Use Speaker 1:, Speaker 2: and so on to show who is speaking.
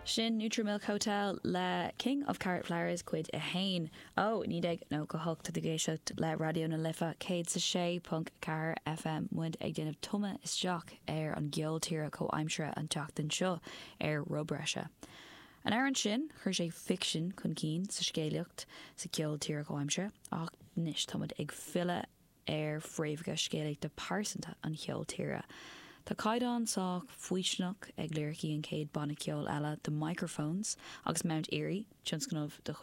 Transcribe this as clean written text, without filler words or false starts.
Speaker 1: Sin Neutral Milk Hotel le King of Carrot Flowers cuid 1 ó 1998. Tá tú ag éisteacht le Raidió na Life 106.4 FM. Muid ag déanamh tumadh isteach ar an gceol tíre comhaimseartha an tseachtain seo ar Roibhreise. An amhrán sin, chuir sé ficsean chun cinn sa scéalaíocht sa cheol tíre comhaimseartha ach anois táimid ag filleadh ar fhréamhacha scéalaíochta pearsanta an cheoil tíre. Tá caighdeán sách faoistineach ag liricí an chéad banna ceoil eile, The Microphones, agus Mount Eerie, tionscnamh de chuid.